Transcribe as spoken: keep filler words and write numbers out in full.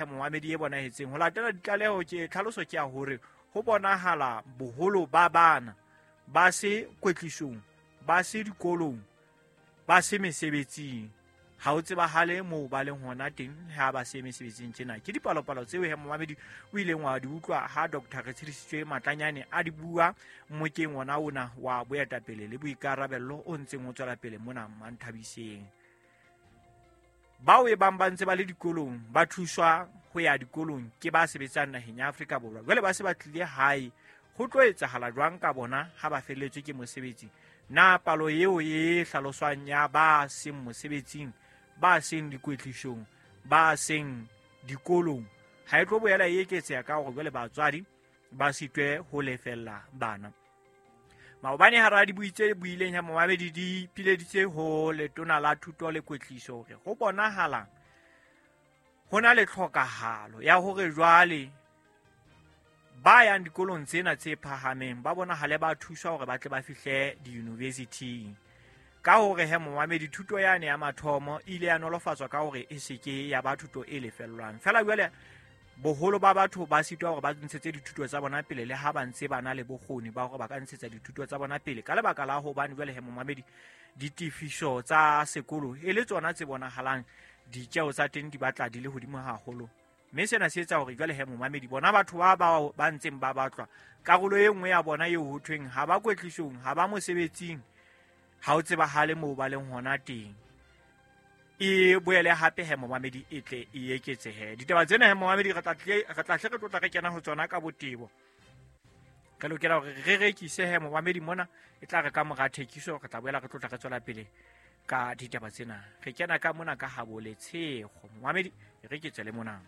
Momamedi, e bonahetseng ho latela ditlaleho ke tlhaloso ke ya hore ho bonahala boholo ba bana ba se kwetlisong, ba se dikolong, ba se mesebetsing. Ha o tsebahale moo ba leng hona teng ha ba se mesebetsing tjena. Ke dipalopalo tseo he momamedi o ileng wa di utlwa ha Doctor Retshidisitswe Matlanyane a di bua mmokeng ona ona wa boetapele le boikarabello o ntseng o tswela pele mona Manthabiseng. Bao e bang ba ntse ba le dikolong ba thuswa ho ya dikolong ke ba sebetsang naheng ya Afrika Borwa. Jwale ba se ba tlile hae, ho tlo etsahala jwang ka bona ha ba felletswe ke mosebetsi? Na palo eo e hlaloswang ya ba seng mosebetsing, ba seng dikwetlisong, ba seng dikolong ha e tlo boela e eketseha ka hore jwale batswadi ba sitwe ho lefella bana? Maobane hara dibui tse buileng ha momamedi di pileditse ho letona la thuto le kwetliso hore ho bonahala ho na le tlhokahalo ya hore jwale ba yang dikolong tsena tse phahameng ba bonahale ba thuswa hore ba tle ba fihle di-university-ing. Ka hore he momamedi, thuto yane ya mathomo e ile ya nolofatswa ka hore e se ke ya ba thuto e lefellwang. Feela jwale boholo ba batho ba sitwa hore ba ntshetse dithuto tsa bona pele le ha ba ntse ba na le bokgoni ba hore ba ka ntshetsa dithuto tsa bona pele, ka lebaka la hobane jwale he momamedi ditefiso tsa sekolo e le tsona tse bonahalang ditjeo tsa teng di batla di le hodimo haholo. Mme sena se etsa hore jwale he momamedi bona batho ba bao ba ntseng ba batlwa, karolo e nngwe ya bona eo ho thweng ha ba kwetlisong, ha ba mosebetsing, ha o tsebahale moo ba leng hona teng, e boele hape he momamedi e tle e eketsehe. Ditaba tsena he momamedi re tla tle re tla hle re tlotla re kena ho tsona ka botebo. Re lokela hore re rekise he momamedi mona, e tla re ka mora thekiso re tla boela re tlotla re tswela pele ka ditaba tsena. Re kena ka mona ka habo Letshego. Momamedi, re ke tswele mona.